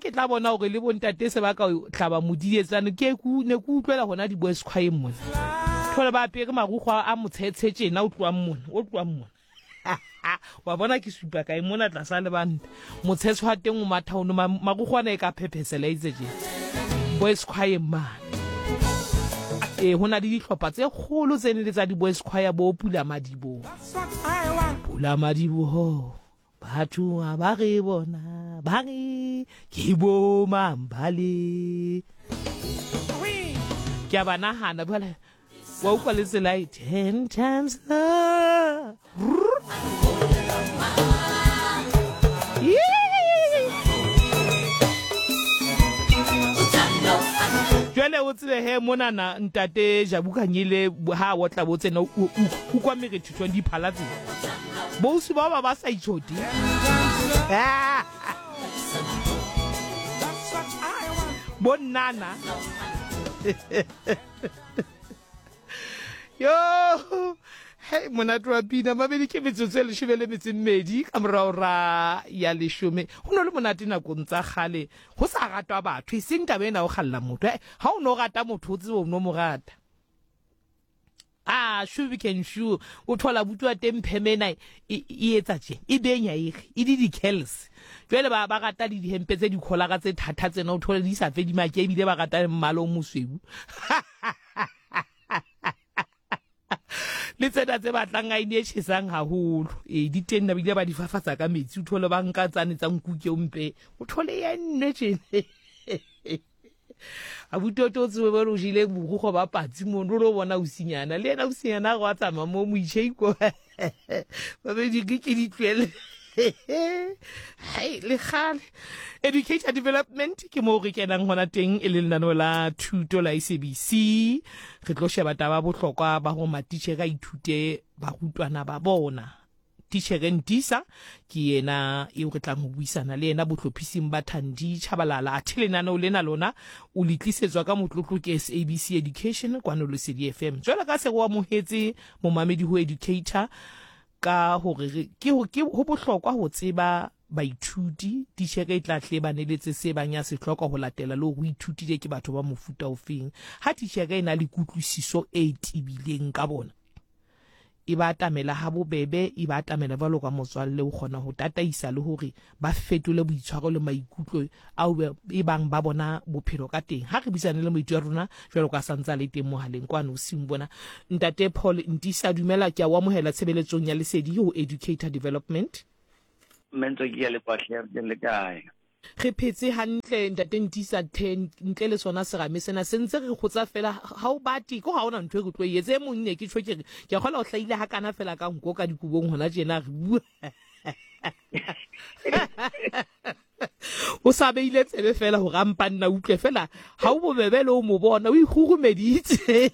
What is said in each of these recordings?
ke tla bona gore le bontate se ba ka hlaba modietsane ke ne ke utlwela gona di-boys choireng mona. Thole ba apere marukgo a motshetshe tjena o tloang mona, o tloang mona. Wa bona ke supa kae mona tlasa lebanta. Motshetshe wa teng o matha ono marukgo ana e ka phephesela itse tjena. Boys choireng mane. Ee, ho na le dihlopha tse kgolo tse ne le tsa di-boys choir bo Pula Madiboho. Pula Madiboho. Batho ha ba re bona ba re ke bo mang bale. Ke a ba nahana bjale wa utlwa le tsela e ten times love. Jwale o tsebe he monana ntate Jabu Khanyile ha o tla bo tsena o kwa merethetho diphala tse. Bousi bao ba ba sa itšhote. Bo nnana. Yo, hei monate wa pina mabedi ke metsotso e leshome le metso e mmedi ka morago ra ya leshome. Go no le monate nakong tsa kgale go sa ratwa batho e seng taba ena o kgalla motho. Ha o no rata motho o tsebe o no mo rata. A shu can shu o thola buti wa teng pheme ena e e etsa tje e benya e re e di di-curls jwale ba ba rata le dihempe tse dikholara tse thata tsena o thole di sa fe dimake ebile ba rata le mmala o mosweu le tsena tse batlang a ine e tjhesang haholo ee di teng na bile ba di fafatsa ka metsi o thole ba nka tsane tsa nkuke o mpe o thole ya nne tjene. Abuti o tlo tsebe bore o jele borukgo ba patsi mono o lo bona osinyana le yena osinyana a go a tsamaya mo moitšheiko babedi ke ke di tlohele hai le gale. Educator development ke moo re kenang gona teng e le lenaneo la thuto la SABC. Re tlo sheba taba bohlokwa ba go matitjhere a ithute barutwana ba bona. Titjhere Ntisa ke yena eo re tlang ho buisana le yena bohlophising ba Thandi Tshabalala. Athe lenaneo lena lona o le tlisetswa ka motlotlo ke SABC Education kwano Lesedi FM. Jwalo ka se re o amohetse momamedi ho Educator ka hore re ke ho ke ho bohlokwa ho tseba baithuti, titjhere e tla hle ba neletse se bang ya se hloka ho latela le hore o ithutile ke batho ba mofuta ofeng. Ha titjhere e na le kutlwisiso e tebileng ka bona, e ba atamela habobebe, e ba atamela jwalo ka motswalle, o kgona ho tataisa le hore ba fetole boitshwaro le maikutlo ao e bang ba bona bophelo ka teng. Ha re buisane le moeti wa rona jwalo ka sa ntse a le teng mohaleng kwano bosiung bona, Ntate Paul Ntisa, dumela, ke a o amohela tshebeletsong ya Lesedi ho Educator Development. Mme Ntswaki, ke a leboha hle, re teng le kae? Re phetse hantle ntate Ntisa the ntle le sona serame sena se ntse re kgotsa fela ha o bate ko ha ona ntho e re tlo e etsa e mong ne ke tjho ke re ke kgola o hlahile ha kana fela ka nko ka dikobong hona tjena re bua o sa beile tsebe fela hore a mpa nna utlwe fela ha o bobebe le o mo bona o ikgurumeditse.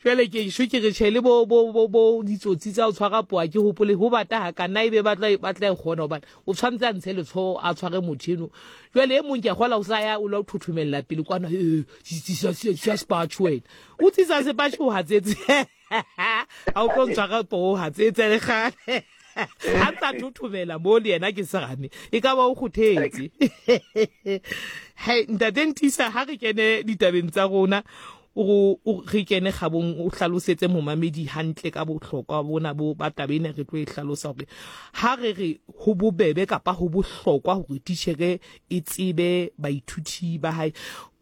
Jwale ke sho ke re tjhe le bo bo bo bo ditsotsi tsa ho tshwara poa ke hopole ho bata ha ka nna ebe ba tla ba tla e kgona hobane o tshwanetse a ntshe letshoho a tshware motho eno. Jwale e mong ke a kgola o sa ya o la o thothomella pele kwana eh tsisa tsisa sepatjhe wena. O tsisa sepatjhe o hatsetse. Ha o tlo ntshwara poo o hatsetse le kgale. Ha ntsa thothomela mo le yena ke serame e ka ba o kgothetse. Hei ntate Ntisa ha re kene ditabeng tsa rona o re kene kgabong o hlalosetse momamedi hantle ka bohlokwa bona bo ba taba ena re tlo e hlalosa hore ha re re ho bobebe kapa ho bohlokwa hore titjhere e tsebe baithuti ba hae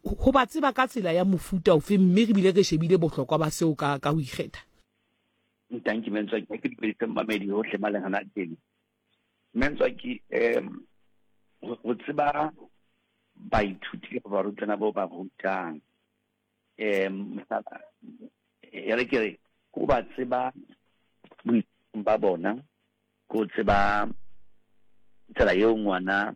ho ba tseba ka tsela ya mofuta ofe mme re bile re shebile bohlokwa ba seo ka ka ho ikgetha. Ntanki Mentswaki, ha ke dumedise mmamedi hohle ba leng hona teng. Mentswaki, um ho tseba baithuti kapa barutwana bo ba rutang um mohlala e re ke re ko ba tseba boitshwarong ba bona, ko tseba tsela eo ngwana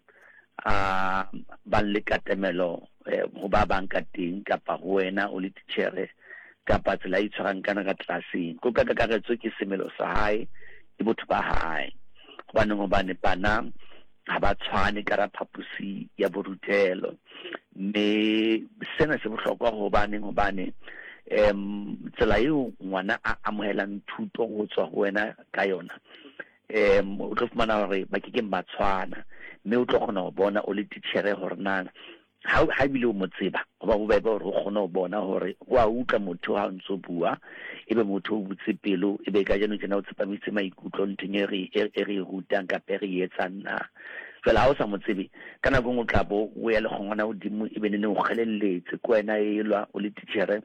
a bang le katamelo ho ba bang ka teng kapa ho wena o le titjhere kapa tsela a itshwarang kana ka tlelaseng. Ko ka kakaretso ke semelo sa hae, ke botho ba hae. Hobaneng? Hobane bana ha ba tshwane ka ra phaposi ya borutelo. Mme sena se bohlokwa hobaneng? Hobane um tsela eo ngwana a amohelang thuto ho tswa ho wena ka yona um o tlo fumana hore ba ke keng ba tshwana. Mme o tlo kgona ho bona o le titjhere hore na ha ha ebile o mo tseba, ho ba bobebe hore o kgone ho bona hore o a utlwa motho ha o ntso bua, ebe motho o butse pelo, ebe kajeno tjena o tsepamise maikutlo nthong e re e re e rutang kapa e re e etsang na. Jwale ha o sa mo tsebe, ka nako e nngwe o tla bo o ya le kgongwana hodimo, ebe neneng o kgelelletse ke wena elwa o le titjhere,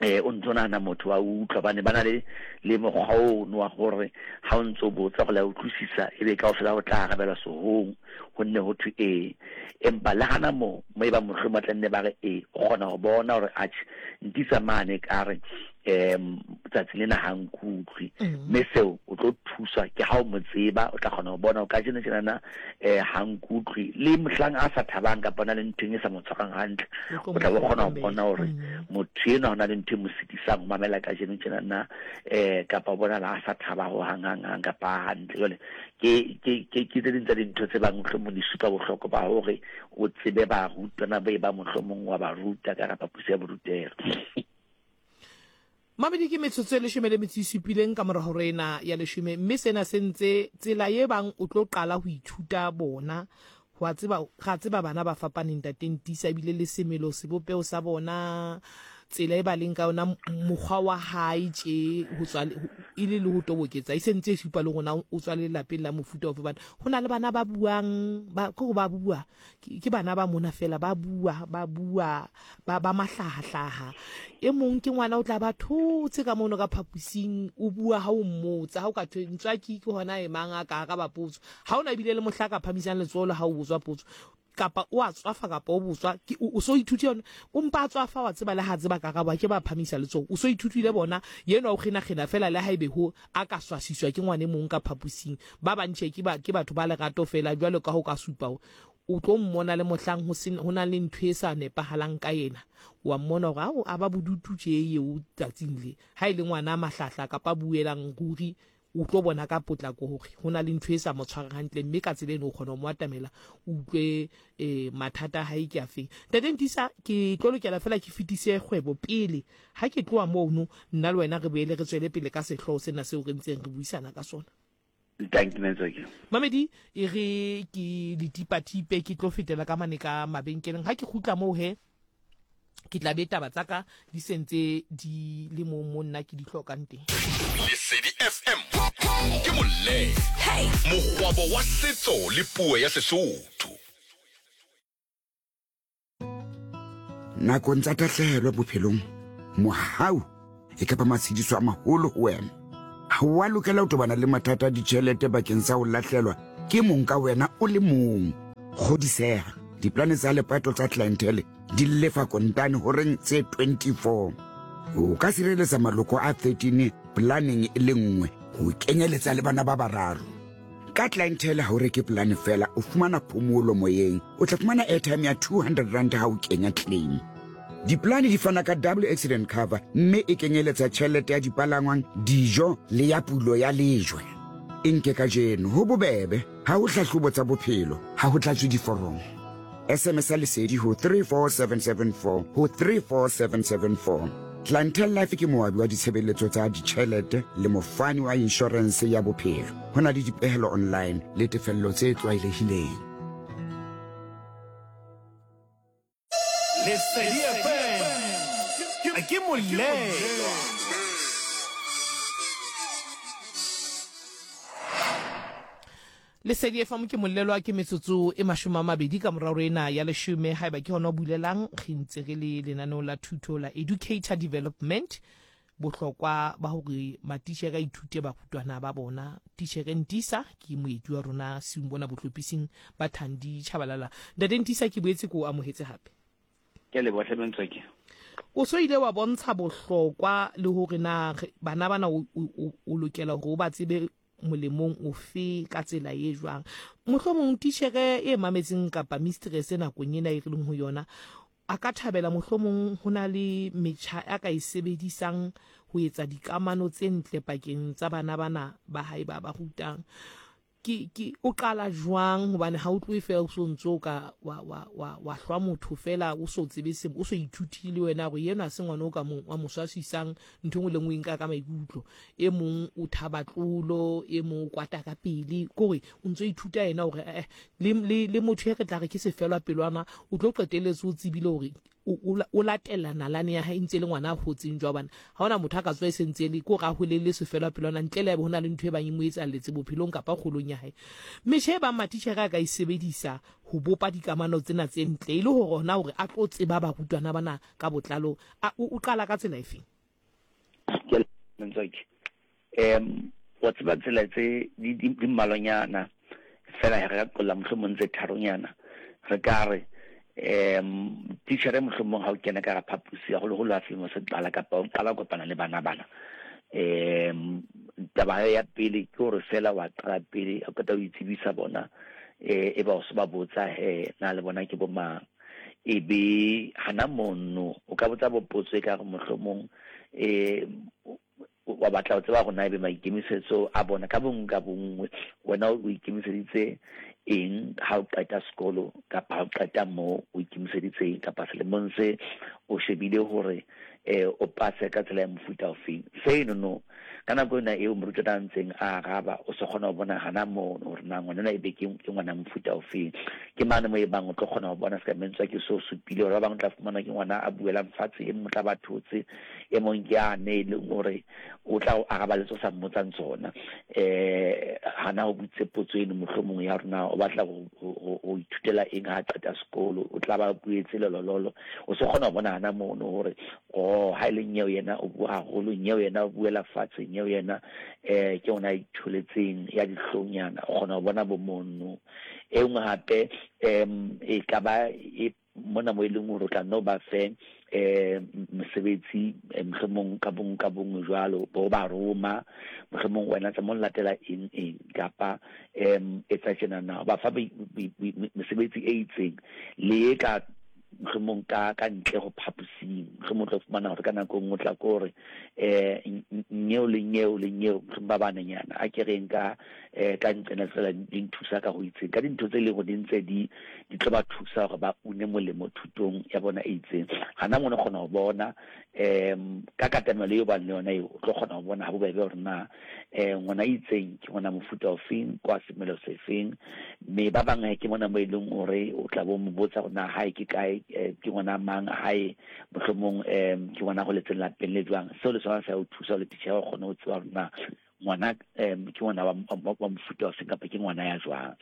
eh o ntso nahana motho wa utlwa bane ba na le le mokgwa ono wa gore ha o ntso botsa go la utlwisisa ebe kaofela o tla arabela sehong ho nne ho thwe ee. Empa le hana moo mo e bang mohlomong ba tla nne ba re ee, o kgona ho bona hore atjhe ntisa mane ka re um tsatsi lena ha nkutlwe. Mme seo o tlo thuswa ke ha o mo tseba, o tla kgona ho bona hore kajeno tjenana um ha nkutlwe. Le mohlang a sa thabang kapa o na le ntho e sa mo tshwarang hantle, o tla bo kgona ho bona hore motho enwa ho na le ntho e mo sitisang ho mamela kajeno tjenana um kapa o bonahala a sa thaba ho hang hang hang kapa a hantle. Jwale ke ke ke ke tse ding tsa dintho tse bang mohlomong di supa bohlokwa ba hore o tsebe barutwana ba e ba mohlomong wa ba ruta ka hara phaposi ya borutelo. Mamedi ke metsotso e leshome le metso e supileng ka mora hora ena ya leshome, mme sena se ntse tsela ye bang o tlo qala ho ithuta bona. Ho a tseba, ra tseba bana ba fapaneng ntate Ntisa, ebile le semelo, sebopeho sa bona, tsela e ba leng ka yona, mokgwa wa hae tje ho tswa e le le ho toboketsa e sentse e supa le rona o tswa lelapeng la mofuta ofe. Bana ho na le bana ba buang, ba ke ba bua ke bana ba mona fela ba bua ba bua ba ba mahlahahlaha. E mong ke ngwana o tla ba thotse ka mono ka phapusing, o bua ha o mmotsa, ha o ka thwe ntswaki ke hona e mang a ka araba potso, ha ona ebile le mohla ka phamisang letsoho le ha o botswa potso, kapa o a tswafa kapa o botswa ke o so ithute yona, o mpa a tswafa wa tseba le ha tseba karabo a ke ba phamisa letsoho, o so ithutile bona yenwa o kgenakgena fela le ha ebe ho a ka swasiswa ke ngwana e mong ka phapusing. Ba bang tjhe ke ba ke batho ba lerato fela jwalo ka ho ka supa o tlo mmona le mohlang ho se ho na le ntho e sa nepahalang ka yena, wa mmona hore ao a ba bodutu tje eo tsatsing le. Ha e le ngwana a mahlahla kapa a buelang ruri o tlo bona ka potlako hore ho na le ntho e sa mo tshwarang hantle, mme ka tsela eno o kgona ho mo atamela o utlwe eh, mathata a hae ke afeng. Ntate Ntisa, ke tlo lokela fela ke fetise kgwebo pele. Ha ke tloha mono, nna le wena re boele re tswele pele ka sehlooho sena seo re ntseng re buisana ka sona. Thank you, Metswaki. Mamedi, e re ke letipatipe ke tlo fetela ka mane ka mabenkeleng. Ha ke kgutla moo he, ke tla be taba tsa ka di sentse di le mo mo nna ke di hlokang teng. Lesedi FM ke molemo, mokgwabo wa setso le puo ya Sesotho. Nakong tsa tahlehelo bophelong, mohau e ka ba matshediso a maholo ho wena. Ha o a lokela ho tobana le mathata a ditjhelete bakeng sa ho lahlelwa ke mong ka wena o le mong. Kgodiseha, diplane tsa lepato tsa Clientele di lefa kontane horeng tse 24. O ka sireletsa maloko a 13 planeng e le nngwe, ho kenyeletsa le bana ba bararo. Ka Clientele ha o reke polane fela, o fumana phomolo moyeng. O tla fumana airtime ya 200 rand ha o kenya claim. Dipolane di fana ka double accident cover mme e kenyeletsa tjhelete ya dipalangwang, dijo le ya pulo ya lejwe. E nke kajeno, ho bobebe, ha ho hlahlobo tsa bophelo, ha ho tlatswe diforomo. SMS ya Lesedi ho 34774 ho 34774. Clientele Life ke moabi wa ditshebeletso tsa ditjhelete le mofani wa inshorense ya bophelo. Ho na le dipehelo online le tefello tse tlwaelehileng. Lesedi FM ke molelwa. Lesedi FM ke molelwa ke metsotso e 20 ka morao ena ya leshome. Haeba ke hona o bulelang, re ntse re le lenaneo la thuto la Educator Development, bohlokwa ba hore matitjhere a ithute barutwana ba bona. Titjhere Ntisa ke moeti wa rona siung bona bohlophising ba Thandi Tshabalala. Ntate Ntisa, ke boetse ke o amohetse hape. Ke a leboha hle Mentswaki. O so ile wa bontsha bohlokwa le hore na bana bana o lokela hore o ba tsebe molemong ofe ka tsela e jwang. Mohlomong titjhere e mametseng kapa mistress nakong ena e re leng ho yona a ka thabela mohlomong ho na le metjha a ka e sebedisang ho etsa dikamano tse ntle pakeng tsa bana bana ba hae ba ba rutang. Ke, ke, o qala jwang? Hobane ha o tlohe feela o so ntse o ka wa, wa, wa, wa hlwa motho feela o so tsebe se, o so ithutile le wena hore enwa ha se ngwana o ka mo, wa mo swaswisang, ntho e nngwe le nngwe o e nka ka maikutlo. E mong o thaba tlolo, e mong o kwata ka pele. Ke hore o ntso ithuta yena hore eh, le, le, le motho e re tla re ke sefelwa pelwana, o tlo qetelletse o tsebile hore o latela nalane ya hae e ntse e le ngwana a hotseng jwa bana ha ona motho a ka tswa e sentse e le ko ra holele sefelwa pelwana ntle le ho na le ntho e bang e mo etsalletse bophelong kapa kgolong ya hae. Metjha e bang matitjhere a ka e sebedisa ho bopa dikamano tsena tse ntle e le hore hona hore a tlo tseba barutwana bana ka botlalo, o qala ka tsela efeng? Ke Ntswaki. Um wa tseba tsela tse di di mmalwanyana fela re ka qolla mohlomong tse tharonyana. Re ka re um titjhere mohlomong ha o kena ka hara phaposi haholoholo ha selemo se qala kapa o qala ho kopana le bana bana. Um taba ya pele ke hore fela wa qala pele o qeta ho itsebisa bona eh e ba o se ba botsa he na le bona ke bo mang. E be hana mono o ka botsa bo potso e ka re mohlomong um wa batla ho tseba hore na ebe maikemisetso a bona ka bonngwe ka bonngwe wena o ikemiseditse eng ha o qeta sekolo kapa ha o qeta moo o ikemiseditse eng kapa selemong se o shebile hore um o pase ka tsela ya mofuta ofeng. Seno no ka nako ena eo morutwana a ntseng a araba o se kgona ho bona hana mono hore na ngwana ebe ke ngwana mofuta ofeng. Ke mane mo e bang o tlo kgona ho bona se ka mentswa ke so supile hore ba bang o tla fumana ke ngwana a buelang fatshe, e mong o tla ba thotse, e mong ke ane e leng hore o tla o araba le tse o sa mmotsang tsona. Hana o botse potso eno mohlomong ya hore na o batla ho ithutela eng ha a qeta sekolo, o tla ba buetse lolololo. O se kgona ho bona hana mono hore oh ha e le nyeo yena o bua haholo, nyeo yena o buela fatshe, nyeo yena ke ona a itholetseng ya dihlongnyana. O kgona ho bona bo mono. E nngwe hape e ka ba e mona mo e leng hore o tla nno ba fe mosebetsi mohlomong ka bong ka bongwe jwalo bo ba roma mohlomong wena tsa mo latela eng eng kapa etsa tjena na ba fa mesebetsi e itseng le e ka mohlomong ka ka ntle ho phaposing mohlomong o tla fumana hore ka nako e nngwe o tla ko hore nyeo le nyeo le nyeo mohlomong ba banenyana a ke reng ka ka nqena fela di nthusa ka ho itseng ka dintho tse leng hore di ntse di di tlo ba thusa hore ba une molemo thutong ya bona e itseng. Hana mono kgona ho bona ka katamelo eo bang le yona eo o tlo kgona ho bona ha bobebe hore na ngwana itseng ke ngwana mofuta ofeng kwa semelo sefeng. Mme ba bang ke mona mo e leng hore o tla bo mo botsa hore na hae ke kae, ke ngwana mang hae mohlomong ke ngwana holetseng lapeng le jwang. Seo le sona se o thusa le titjhere o kgone ho tseba hore na ngwana ke ngwana wa mofuta ofeng kapa ke ngwana ya jwang.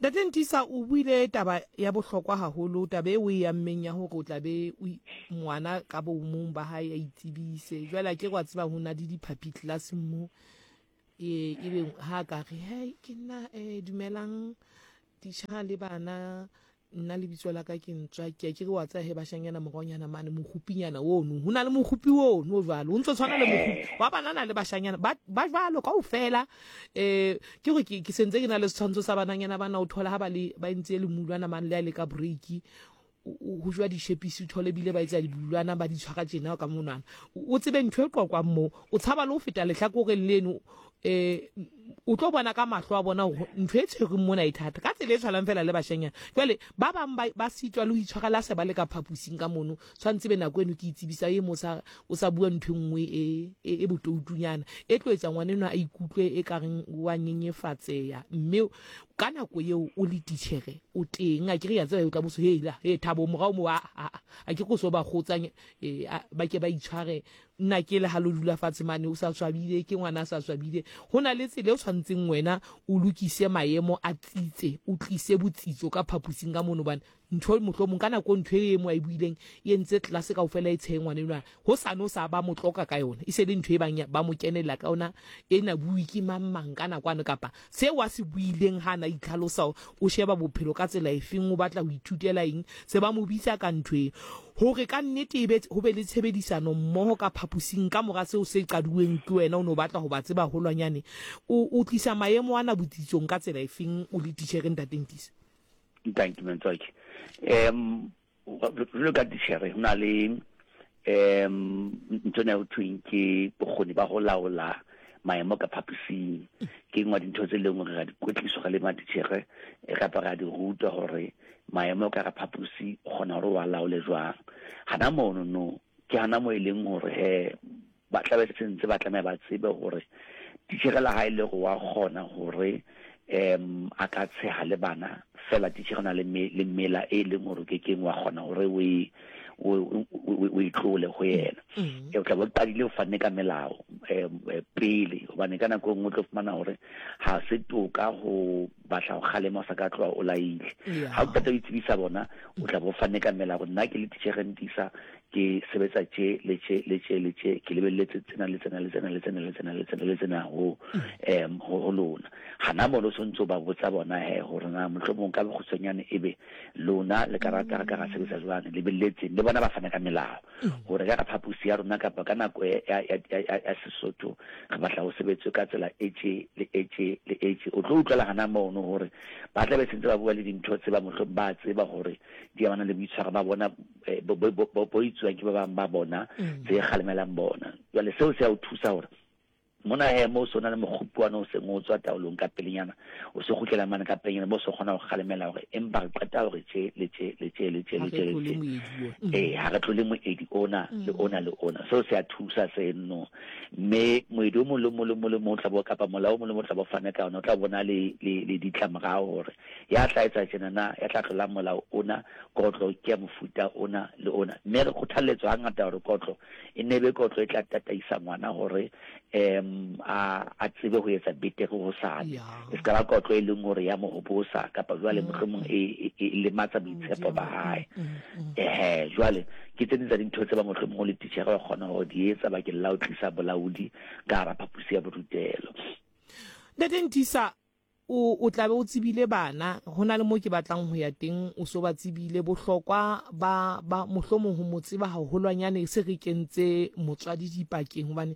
Ntate Ntisa, o buile taba ya bohlokwa haholo, taba e o e ammeng ya hore o tla be o ngwana ka bomong ba hae a itsebise. Jwale a ke re wa tseba ho na le diphapi tlelaseng mo, e ebe ha ka re, hei ke nna dumelang titjha le bana, Nna lebitso la ka ke Ntswaki. A ke re wa tseba he bashanyana moraonyana mane mokgupinyana ono. Ho na le mokgupi ono o jwalo. O ntso tshwana le mokgupi wa banana le bashanyana ba ba jwalo kaofela. Eh ke gore ke ke sentse ke na le setshwantsho sa bananyana bana o thola ha ba le ba entse le mulwana mane le a le ka break. Ho jwa dishepisi o thole bile ba etsa dibulwana ba di tshwara tjena ka monwana. O tsebe ntho e qoqwang moo. O tshaba le ho feta lehlakoreng leno eh o tlo bona ka mahlo a bona hore ntho e tshwereng mona e thata ka tsela e tshwanang fela le bashanyana. Jwale ba bang ba sitwa le ho itshwara le ha se ba le ka phaposing ka mono, tshwanetse be nako eno ke itsebisa e mo sa o sa bua ntho e nngwe e e botoutunyana e tlo etsa ngwana enwa a ikutlwe e ka reng wa nyenyefatseya. Mme ka nako eo o le titjhere o teng, a ke re ya tseba o tla boso hela he Thabo morao mo a a ke go so ba kgotsang ba ke ba itshware. Nna ke le ha lo dula fatshe mane o sa swabile, ke ngwana a sa swabile. Ho na le tsela e o tshwantseng wena o lokise maemo a tsitse, o tlise botsitso ka phaposing ka mono, hobane ntho mohlomong ka nako ntho e mo a e buileng e entse tlelase kaofela e tshehe ngwana enwa. Hosane o sa ba mo tloka ka yona, e se le ntho e bang ba mo kenella ka yona, ena bue ke mang mang ka nakwane, kapa seo a se buileng ha a na itlhalosa, o sheba bophelo ka tsela efeng, o batla ho ithutela eng, se ba mo bitsa ka ntho eo. Hore ka nnete e be ho be le tshebedisano mmoho ka phaposing ka mora seo se qaduweng ke wena o ne o batla ho ba tseba haholwanyane. O, o tlisa maemo ana botsitsong ka tsela efeng o le titjhere Ntate Ntisa? Thank you, Mtswaki. Jwalo ka titjhere ho na le ntho ena ho thweng ke bokgoni ba ho laola maemo ka phaposing. Ke nngwe ya dintho tse leng hore ra di kwetliswa re le matitjhere kapa ra di rutwa hore maemo ka hara phaposi o kgona hore o a laole jwang. Hana mono no ke hana moo e leng hore he ba tla be sentse ba tlameha ba tsebe hore titjhere le ha e le hore wa kgona hore um a ka tsheha le bana fela titjhere o na le le mela e leng hore o kekeng wa kgona hore o e o e tlole ho yena. Mm. O tla bo qadile o fanne ka melao um pele hobane ka nako e nngwe o tlo fumana hore ha se toka ho batla ho kgalema o sa ka tloha o laile. Ha o qeta ho itsebisa bona o tla bo fanne ka melao nna ke le titjhere Ntisa ke sebetsa tje le tje le tje le tje ke lebelletse tsena le tsena le tsena le tsena le tsena le tsena le tsena ho um ho lona. Hana mono o sontso ba botsa bona he hore na mohlomong ka bokgutshwanyane ebe lona le ka rata re ka ra sebetsa jwang lebelletseng le bona ba fana ka melao hore ka phaposi ya rona kapa ka nako ya Sesotho re batla ho sebetswe ka tsela e tje le e tje le e tje. O tlo utlwela hana mono hore ba tla be sentse ba bua le dintho tse ba mohlomong ba tseba hore di amana le boitshwaro ba bona bo itsuwang ke ba bang ba bona tse kgalemelang bona. Jwale seo se ya o thusa hore mona he mo o se o na le mokgopi wane o seng o tswa taolong ka pelenyana, o se kgutlela mane ka pelenyana bo se kgona ho kgalemela hore empa re qeta hore tje le tje le tje le tje le tje le tje. Ee, ha re tlole moedi ona le ona le ona. Seo se a thusa seno. Mme moedi o mong le mong le mong le mong o tla bo kapa molao o mong le mong o tla bo fane ka ona o tla bona le le le ditlamorao hore ya tla etsa tjena na ya tla tlolang molao ona kotlo ke ya mofuta ona le ona. Mme re kgothalletswa hangata hore kotlo e nne e be kotlo e tla tataisa ngwana hore um a a tsebe ho etsa betere hosane. E se ka ba kotlo e leng hore ya mo hobosa kapa jwale mohlomong e e lematsa boitshepo ba hae. Ehe, jwale ke tse ding tsa dintho tse ba mohlomong o le titjhere wa kgona ho di etsa bakeng la ho tlisa bolaodi ka hara phaposi ya borutelo. Ntate Ntisa, O, o tla be o tsebile bana, ho na le mo ke batlang ho ya teng, o so ba tsebile. Bohlokwa ba, ba, mohlomong ho mo tseba haholwanyane se re kentse motswadi dipakeng, hobane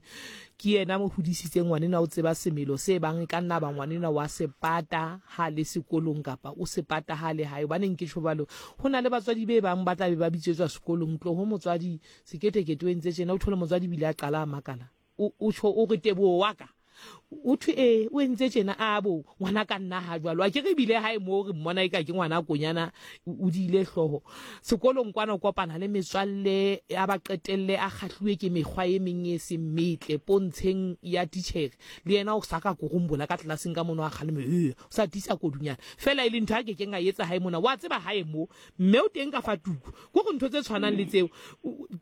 ke yena mo hodisitseng ngwanenwa, o tseba semelo se bang e ka nna ba ngwanenwa wa se pata ha le sekolong kapa o se pata ha le hae. Hobaneng ke tjho jwalo? Ho na le batswadi be bang ba tla be ba bitsetswa sekolong, tloho motswadi, seketekete o entse tjena, o thole motswadi ebile a qala a makala. O, o tjho o re Teboho wa ka? O thwe ee, o entse tjena. A bo, ngwana ka nna ha jwalo. Akere ebile hae moo re mmona eka ke ngwana konyana, o diile hlooho. Sekolong kwana o kopana le metswalle, a ba qetelle a kgahluwe ke mekgwa e meng e seng metle pontsheng ya titjhere. Le yena o sa ka korombola ka tlelaseng ka mono a kgaleme, ee, o sa tiisa kodunyana. Feela e le ntho a ke keng a e etsa hae mona. Wa tseba hae mo, Mme o teng ka fa tuku. Ko re ntho tse tshwanang le tseo.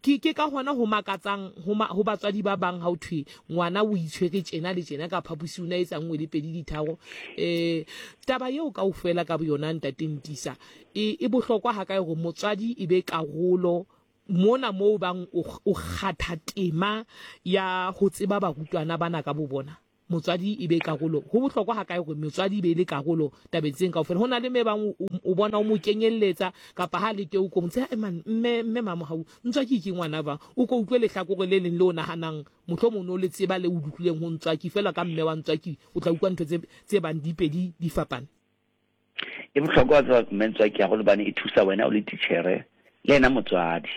Ke, ke ka hona ho makatsang ho, ma, ho batswadi ba bang ha ho thwe ngwana o itshwere tjena le tjena ka phaposi o ne a etsa nngwe le pedi ditharo. Eh, taba eo kaofela ka boyona Ntate Ntisa, e, e bohlokwa hakae hore motswadi e be karolo mona moo bang o, o kgatha tema ya ho tseba barutwana bana ka bobona? Motswadi e be karolo. Ho bohlokwa hakae hore motswadi e be e le karolo tabeng tseng kaofela? Ho na le mme bang o bona o mo kenyelletsa kapa ha le teng o ko ntse e man mme mme Mamohau Ntswaki ke ngwana jwang? O ko utlwe lehlakore le leng le o nahanang mohlomong o ne o le tseba le o le utlwileng ho Ntswaki feela ka mme wa Ntswaki o tla utlwa ntho tse tse bang di pedi di fapane. E bohlokwa wa tseba mme Ntswaki haholo hobane e thusa wena o le titjhere le yena motswadi.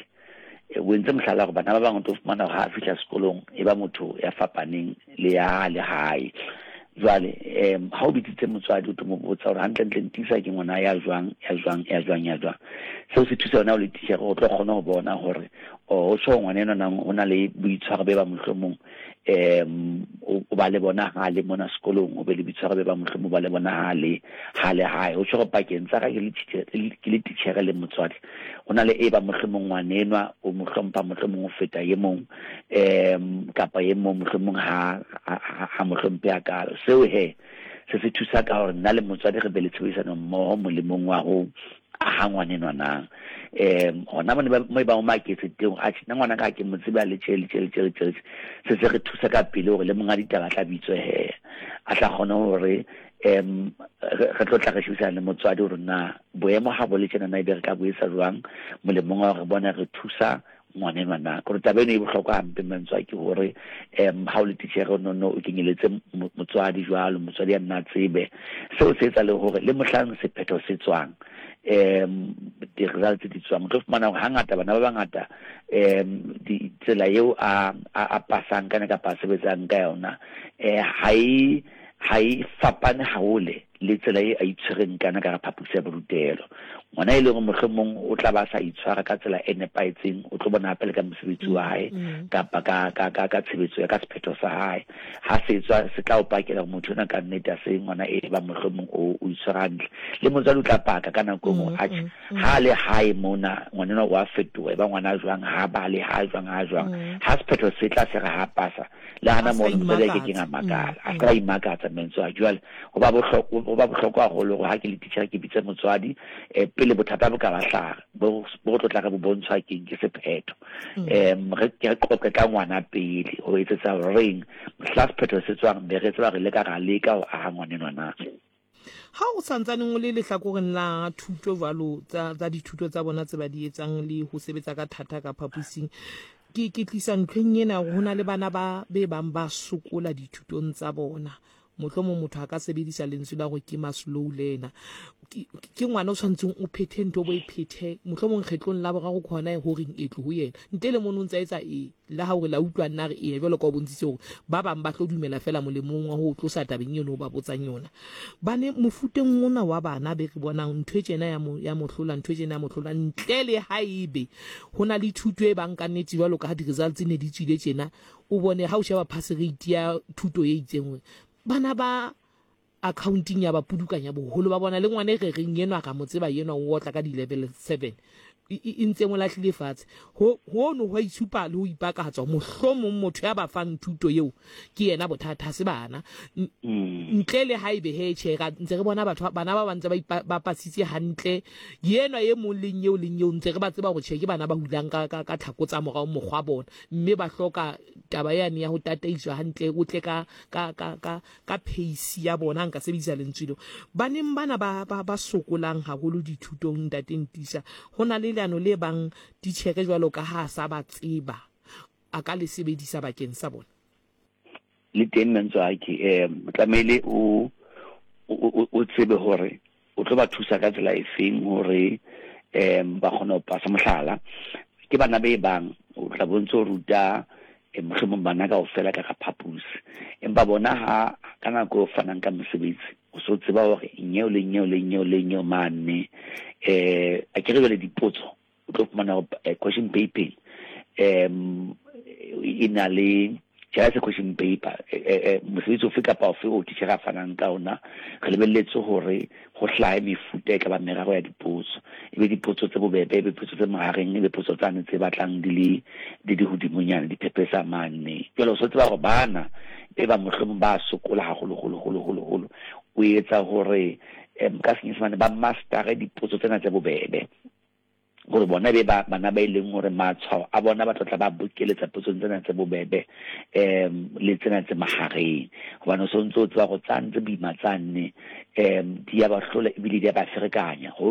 E, o entse mohlala gore bana ba bangwe o tlo fumana gore ha a fihla sekolong e ba motho ya fapaneng le ya le hae. Jwale um ha o bitsitse motswadi o tlo mo botsa gore hantlentle Ntisa ke ngwana ya jwang ya jwang ya jwang ya jwang. Seo se thusa wena o le titjhere o tlo kgona ho bona gore o tjho ngwana enwa nang o na le boitshwaro be ba mohlomong um o ba le bona ha le mona sekolong o be le boitshwaro be ba mohlomong ba le bona ha le ha le hae o tjho gore pakeng tsa ka ke le titjhere le motswadi go na le e ba mohlomong ngwanenwa o mo hlompha mohlomong o feta ye mong um kapa ye mong mohlomong ha ha mo hlomphe hakalo seo he se se thusa ka gore nna le motswadi re be le tshebedisano mmoho molemong wa ho aha ngwanenwa nang um hona mone mo e bang o maketse teng a nna ngwana ka ke mo tsebe le tje le tje le tje le tje se se re thusa ka pele hore le monga ditaba tla bitswe he a tla kgone hore um re tlo tla re shebisana le motswadi hore na boemo ha bo le tjena na ebe re ka bo etsa jwang molemong wa hore bona re thusa ngwanenwa na kore taba eno e bohlokwa hampe mantswe ke hore um ha o le titjhere o nonno o kenyeletse motswadi jwalo motswadi ya nna tsebe seo se etsa le hore le mohlang sephetho se tswang um di-results di tswang, o tlo fumana hore hangata bana ba bangata um tsela eo a a pasang ka yona kapa a sebetsang ka yona um ha e ha e fapane hahole le tsela e a itshwereng ka yona ka hara phaposi ya borutelo. Ngwana e leng hore mohlomong o tla ba a sa itshwara ka tsela e nepahetseng, o tlo bona hape le ka mosebetsi wa hae kapa ka ka ka ka tshebetso ya ka sephetho sa hae. Ha se tswa se tla o pakela hore motho enwa ka nnete ha se ngwana e bang mohlomong o o itshwere hantle. Le motswadi o tla paka ka nako e nngwe atjhe ha a le hae mona ngwana enwa o a fetoha, e ba ngwana a jwang, ha a bale, ha a jwang, ha a jwang. Ha sephetho se tla se re ha a pasa, le hana mono motswadi a ke keng a makala, a se ka imakatsa mentswe a. Jwale ho ba bohlokwa, ho ba bohlokwa haholo hore ha ke le titjhere ke bitse motswadi eh, pele bothata bo ka ba hlaha, bo bo tlo tla re bo bontshwa keng ke sephetho. Em re ke re qoqe ka ngwana pele ho etsetsa horeng mohla sephetho se tswang be re tseba re leka ra leka ho aha ngwanenwa na. Ha o sa ntsaneng o le lehlakoreng la thuto jwalo tsa, tsa dithuto tsa bona tse ba di etsang le ho sebetsa ka thata ka phaposing, ke, ke tlisa ntlheng ena hore ho na le bana ba be bang ba sokola dithutong tsa bona. Mohlomong motho a ka sebedisa lentswe la hore ke ma-slow learner. Ke, ke ngwana o tshwanetseng o phethe ntho o bo e phethe, mohlomong kgetlong la boraro ke hona ho reng e tlo ho yena. Ntle le mono o ntse a etsa e, le ha hore la utlwa nna re eya jwalo ka o bontshitse hore ba bang ba tlo dumela fela molemong wa ho o tlosa tabeng eno o ba botsang yona. Bane mofuteng ona wa bana be re bonang ntho e tjena ya mo, ya mo hlola, ntho e tjena ya mo hlola, ntle le haebe ho na le thuto e bang ka nnete jwalo ka ha di-results ne di tswile tjena, o bone ha o sheba pass rate ya thuto e itseng hore bana ba accounting ya ba pudukanya boholo ba bona le ngwana e re reng enwa ra mo tseba enwa o otla ka di-level 7 e ntse mo lahlile fatshe. Ho hono ho a itshupa le ho ipakatswa mohlomong motho ya ba fang thuto eo ke yena bothata ha se bana. Ntle le haebe he tjhe ra ntse re bona batho bana ba ba ntse ba ba pasitse hantle yenwa e mong leng eo leng eo ntse re ba tseba hore tjhe ke bana ba hulang ka ka ka tlhako tsa morao mokgwa bona mme ba hloka taba yane ya ho tataiswa hantle o tle ka ka ka ka ka pace ya bona nka sebedisa lentswe leo. Baneng bana ba ba ba sokolang haholo dithutong ntate Ntisa, ho na le leano le bang titjhere jwalo ka ha a sa ba tseba a ka le sebedisa bakeng sa bona? Le teng Mentswaki, um tlamehile o o tsebe hore o tlo ba thusa ka tsela efeng hore um ba kgone ho pasa. Mohlala, ke bana be bang o tla bo ntse o ruta eh, mohlomong bana kaofela ka ga phaposi, empa bona ha ka nako e o fanang ka mosebetsi o so tseba hore nyeo le nyeo le nyeo le nyeo mane um a ke re jwale dipotso o tlo fumana hore eh, question paper um e na le jala se question paper eh, eh, mosebetsi ofe kapa ofe o titjhere a fanang ka ona re lebelletse hore ho hlahe mefuta e ka ba meraro ya dipotso, e be dipotso tse bobebe, e be potso tse mahareng, e be potso tsane tse batlang di le di le hodimonyana, di phephetsa mane. Jwale o so tseba hore bana e ba mohlomong ba sokola haholo holo holo holo holo, o etsa hore ka Senyesemane ba mastere dipotso tsena tse bobebe. Gore bona be ba bana ba e leng gore matshwao a bona ba tlotla ba bokeletsa potsong tsena tse bobebe um le tsena tse magareng, gobane o santse o tseba go tsane tse boima tsane um di ya ba hlola ebile di ya ba ferekanya.